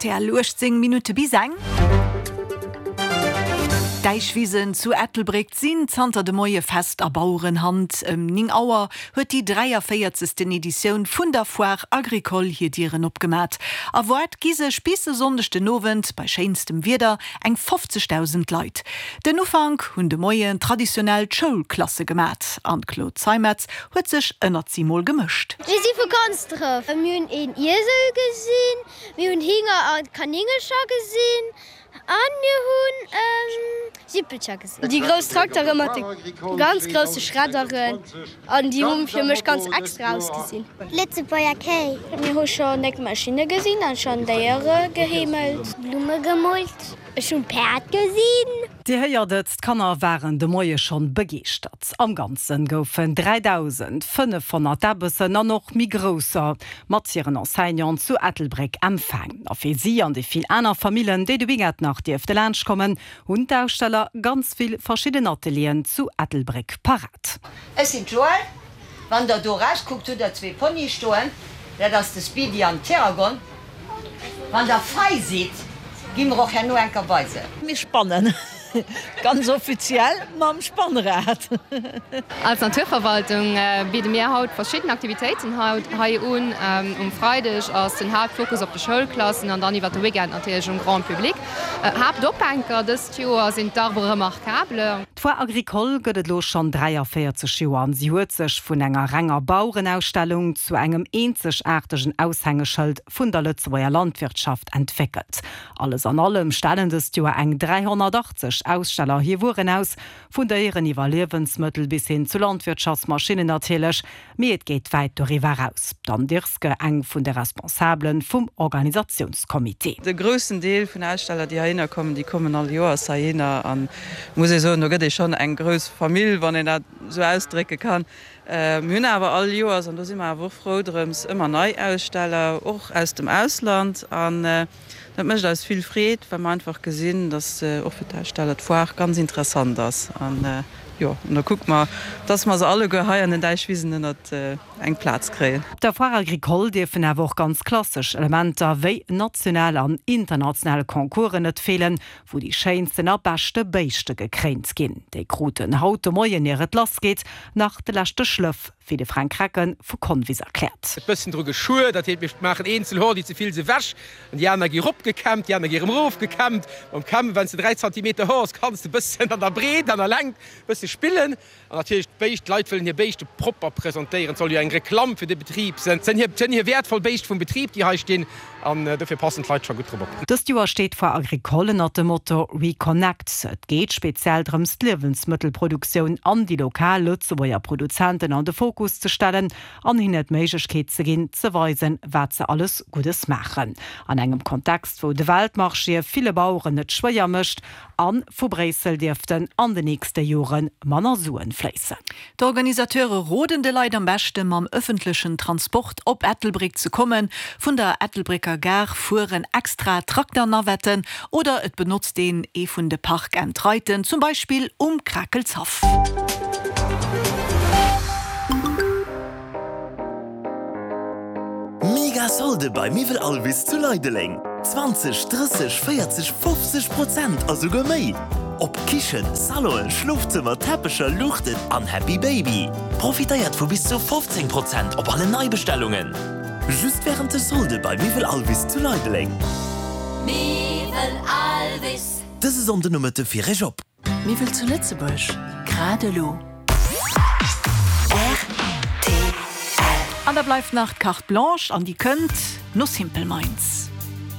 Rtl, 18 Minutte bis eng. D'Däichwisen zu Ettelbréck sinn zanter de Moie fest a Bauerenhand. Ëm 9 Auer huet déi 43. Editioun vun der Foire Agricole hir Dieren opgemat. Erwaart gi sech bis e Sonndeg den Owend bei schéinstem Wieder eng 50.000 Leit. Den Ufank hunn de Moien traditionell d'Schoulklasse gemat an d'Claude Zeimetz huet sech ënnert si mol gemëscht. Mir si vu Konsdref. Mir hunn een Iesel gesinn, mir hunn Hinger a Kanéngercher gesinn a mir hunn Jippelcher gesinn. Déi grouss Traktere mat de ganz grousse Schredderen an déi hu fir mech ganz extra ausgesinn. Lëtzebuerger Kéi. Mir hu schonn déck Maschinne gesinn an schonn Déiere geheemelt. Blumme gemoolt. Ech hunn Päerd gesinn. Dir héiert et, d'Kanner waren de Moie schonn begeeschtert. Am Ganzen goufen 3.500 Däbbessen an och méi grousser mat hiren Enseignanten zu Ettelbréck empfaang. A fir si an déi vill aner Famillen, déi de Weekend nach dierfte laanscht kommen, hunn d'Aussteller ganz vill verschidden Atelieren zu Ettelbréck parat. Ech sinn d'Joëlle. Wann der do rauskuckt hutt der zwee Ponye stoen, dat ass de Speedy an d'Teragon. Wann der fei sidd, gi mer och herno enker bei se. Mir spannen ganz offiziell mam Spannrad. Als Naturverwaltung bidde mir haut verschidden Aktivitéiten hei un. Um Freideg ass den Haaptfokus op de Schoulklassen an dann iwwer de Weekend natierlech um Grand Public. Haaptophänker dëst Joer sinn d'Arbres remarquables. D'Foire Agricole gëtt et elo schonn 43 Joer an si huet sech vun enger renger Bauerenausstellung zu engem eenzegaartegen Aushängeschëld vun der Lëtzebuerger Landwirtschaft entwéckelt. Alles an allem stellen dëst Joer eng 380 Aussteller hir Wueren aus, vun Déieren iwwer Liewensmëttel bis hin zu Landwirtschaftsmaschinnen natierlech. Mee et geet wäit doriwwer eraus. D'Anne Dirske, eng vun de Responsabele vum Organisatiounscomité. De groussen Deel vun Aussteller, déi heihinner kommen, déi kommen all Joers heihinner. An muss ee soen, do gëtt ee schonn eng grouss Famill, wann een dat esou ausdrécke kann. Mir hunn awer all Joers, an do si mer awer och frou drëms, ëmmer nei Aussteller, och aus dem Ausland. An dat mécht eis vill Freed, well mer einfach gesinn, datt och fir d'Aussteller d'Foire ganz interessant ass. An Jo, an da kucke mer, dass mer se alleguer hei an den Däichwisen ënnert eng Plaz kréien. Op der Foire Agricole dierfen awer och ganz klassesch Elementer wéi national an international Concoursen net feelen, wou déi schéinsten a beschte Béischte gekréint ginn. Déi kruten haut de Moien, ier et lass geet, nach de leschte Schlëff, wéi de Fränk Recken vu Convis erkläert. E bëssen dru geschuer, dat heet mir maachen eenzel Hor, déi ze vill se wech an déi aner gi ropgekämmt, déi aner gi erëm erofgekämmt. Mam Kämmen, wann s de 3 Zantimeter Hoer hues, kanns de bëssen an der Breet an der Längt bësse spillen. An natierlech d'Béischt, d'Leit wëllen hir Béischte propper presentéieren, et soll jo eng Reklamm fir de Betrib sënn. Et sënn hir, sënn hir wäertvoll Béischt vum Betrib, déi hei stinn, an dofir passen d'Leit scho gutt drop op. Dëst Joer steet d'Foire Agricole ënnert dem Motto Reconnect. Et geet speziell drëms d'Liewensmëttelproduktioun an déi lokal Lëtzebuerger Produzenten an de Fokus ze stellen an hinne d'Méiglechkeet ze ginn, ze weisen, wat se alles Guddes maachen. An engem Kontext, wou de Weltmarché ville Baueren et schwéier mécht a vu Bréissel dierften an de nächste Jore manner Suen fléissen. D'Organisateure roden de Leit am beschte mam ëffentlechen Transport op Ettelbréck ze kommen. Vun der Ettelbrécker Gare fueren extra Trakternavetten oder et benotzt een ee vun de Park and Riden, zum Beispill um Krakelshaff. Mega Solde bei Miwwel Alvis zu Leideleng! 20, 30, 40, 50 Prozent a souguer méi! Op Kichen, Salonen, Schlofzëmmer, Teppecher, Luuchten an Happy Baby. Profitéiert vu bis zu 15 Prozent op alle Neibestellungen! Just wärend de Solde bei Miwwel Alvis zu Leideleng. Miwwel Alvis. Dëse Sonndenomëtte fir Iech op. Miwwel zu Lëtzebuerg, grad elo. Rtl. An da bleift nach d'Carte Blanche an déi kënnt no Simple Minds.